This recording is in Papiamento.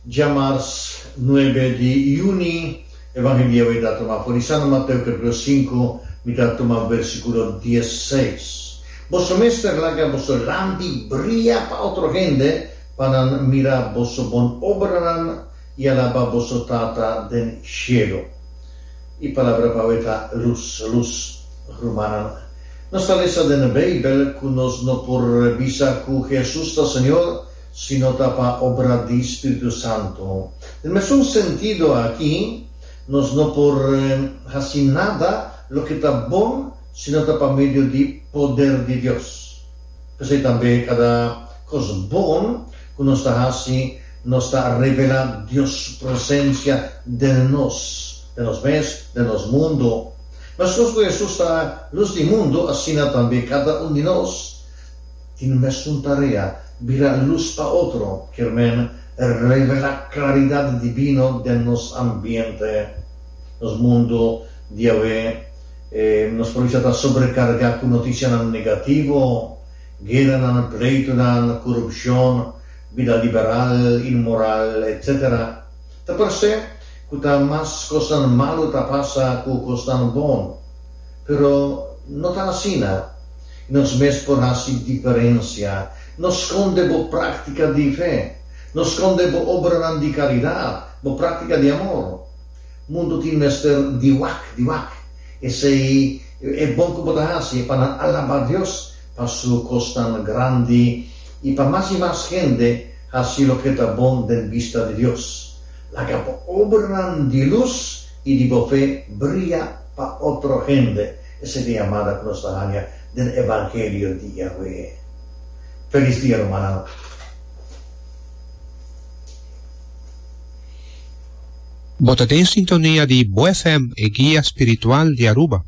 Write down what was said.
Djamars nuebe di yüni, Evangelio awe ta tuma for di San Mateo capítulo sinku, mi ta tuma versíkulo diesseis. Boso mester laga boso lampi bria pa otro hende, pa nan mira boso bon obranan i alabá boso Tata den shelu. E palabra pa awe ta lus, lus. Rumannan, nos ta lesa den Beibel ku nos no por bisa ku Hesus ta Señor si no ta pa obra di Spiritu Santu. Den mesun sentido aki, nos no por hasi nada loke ta bon si no ta pa medio di poder di Dios. P'esei tambe kada kos bon ku nos ta hasi, nos ta revelá Dios su presensia den nos, den nos mes, den nos mundu. Meskos ku Hesus ta lus di mundu, asina tambe kada un di nos Tin mesun tarea, bira lus pa otro, kier men revelá klaridat dibino den nos ambiente. Nos mundu di awe, nos por bisa ta sobrekargá ku notisianan negativo, gueranan, pleitunan, korupshon, bida liberal, inmoral, etcétera. Ta parse ku ta mas kosnan malu ta pasa ku kosnan bon. Pero no ta asina. Nos mes por hasi diferensia. No skonde bo práktika di fe. No skonde bo obranan di karidat, bo práktika di amor. Mundu tin mester di wak, di wak. Esei e bon ku bo ta hasi pa nan alabá Dios pa su kosnan grandi i pa mas i mas hende hasi loke ta bon den bista di Dios. Laga bo obranan di lus i di bo fe bria pa otro hende. Esei ta yamada ku nos ta haña den Evangelio di Yahweh. Felis dia rumannan. Bo ta den sintonia di Bo FM, e guia spiritual di Aruba.